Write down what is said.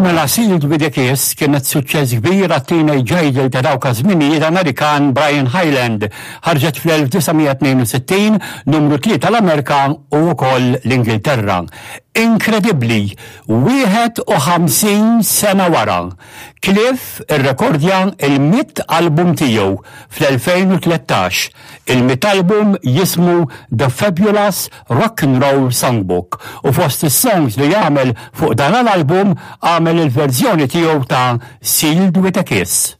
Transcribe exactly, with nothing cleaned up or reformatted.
Mela, Sealed with a Kiss kienet suċċess kbir għat-teenage idol ta' dawk żminijiet Amerikan Brian Hyland. Ħarġet fl-elf disa' mija tnejn u sittin, numru tlieta tal-Amerika u wkoll l-Ingilterra. Inkredibbli, wieħed u ħamsin sena wara, Cliff irrekordja il-mitt album tiegħu fl-elfejn u tlettax. Il-mitt album jismu The Fabulous Rock and Roll Songbook u fost is-songs li jagħmel fuq dan l-album għamel il-verżjoni tiegħu ta' Sealed with a Kiss.